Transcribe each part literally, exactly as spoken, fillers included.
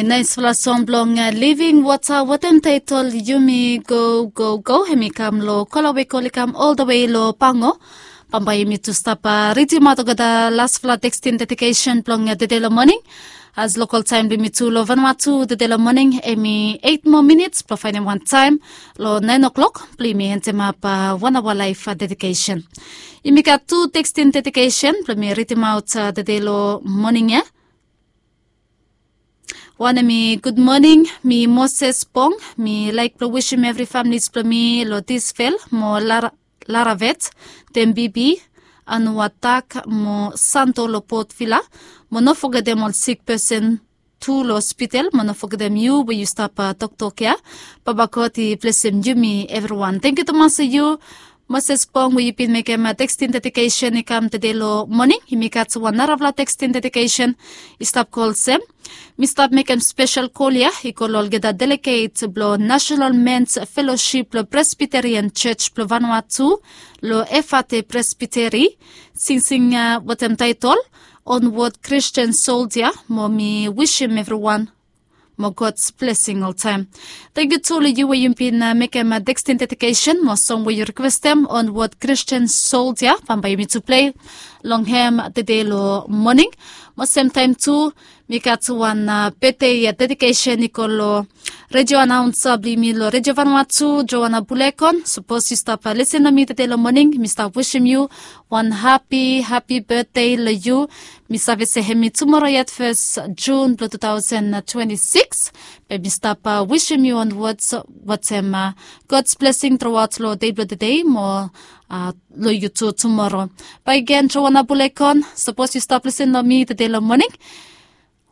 Naispela song blong living wata watem taitol yumi go go go, em i kam long kola we kol i kam oldawe long pango. Bambae yumi tu stap ridimaot olgeta laspela tekstin dedikesen blong tede long moning. As lokal taem blong yumi tu long vanua tu tede long moning, em i eit moa minits blong faenem wan taem long naen oklok blong yumi entemap wan aoa laef dedikesen. Yumi gat tu tekstin dedikesen blong yumi ridimaot tede long moning ya. Wanem i gud moning, mi Moses Bong, mi laik blong wisim evri familis blong mi long Tisvel mo Laravet, Dembibi, Anuatak mo Santo long Port Vila, mo no fogetem ol sik pesen tu long hospital, mo no fogetem yu we yu stap toktok ya. Baba God i blesim yumi evriwan. Tangkiu tumas long yu Moses Bong we yu bin mekem tekstin dedikesen i kam tede long moning. Yumi gat wan narafala tekstin dedikesen i stap go olsem. Mi stap mekem spesel kol ya i go long olgeta deleget blong National Men's Fellowship blong Presbyterian Church blong Vanuatu long Efate Presbytery. Singsing wetem taetol Onward Christian Soldier, mo mi wisim evriwan mo God's blessing oltaem. Tangkiu tu long yu we yu bin mekem tekstin dedikesen mo song we yu rikwestem, Onward Christian Soldier. Bambae yumi tu plei long hem tede long moning. Mo semtaem tu mi gat wan betde dedikesen i go long redio anaunsa blong yumi long Redio Vanuatu, Joana Bulekon. Sapos yu stap lisin long mi tede long moning, mi stap wisim yu wan hapi hapi betde long yu. Mi save se hem i tumora yet fes Jun blong tu taosen twenti sikis. Be mi stap wisim yu on wats watem God's blessing truaot long dei blong tede mo long yu tu tumora. Bae gen, Joana Bulekon, sapos yu stap lisin long mi tede long moning,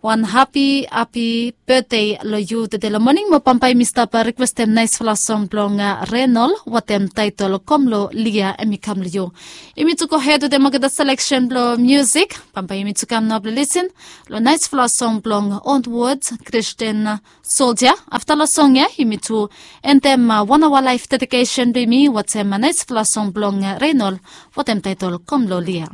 wan hapi hapi betde long yu tede long moning. Mo bambae mi stap rikwestem naesfala song blong Renol watem taetol Kom long Lia, em i kam long yu. Yumi tu gohed wetem olgeta seleksen blong musik. Bambae yumi tu kam nao blong lisin long naesfala song blong Onward Christian Soldier. Afta long song ya yumi tu endem wan aoa laef dedikesen blong yumi watem naesfala song blong Renol watem taetol Kom long Lia.